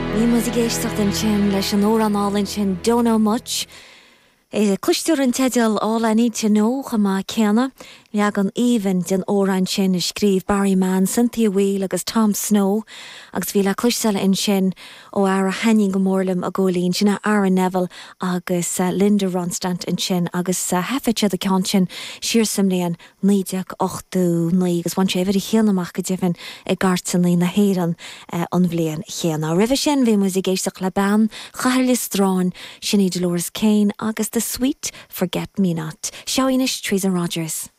Bhí muid ag éisteacht ansin leis an amhrán álainn sin Don't Know Much. Cloistear an teideal All I Need To Know chomh maith céanna. Leagan aoibhinn den amhrán sin a scríobh Barry Mann, Cynthia Weil agus Tom Snow agus bhí le cloisteáil ansin ó fhear a thaitníonn go mór liom a Chóilín, sin é Aaron Neville agus Linda Ronstadt ansin agus thaifead siad an ceann sin siar sa mbliain 1989 agus bhain sé uimhir a haon amach go deimhin i gcairteanna na hÉireann an bhliain chéanna. Roimhe sin bhí muid ag éisteacht le bean Chathair Lios Dráin, sin í Dolores Keane agus The Sweet Forget Me Not. Seo í anois Teresa Rogers.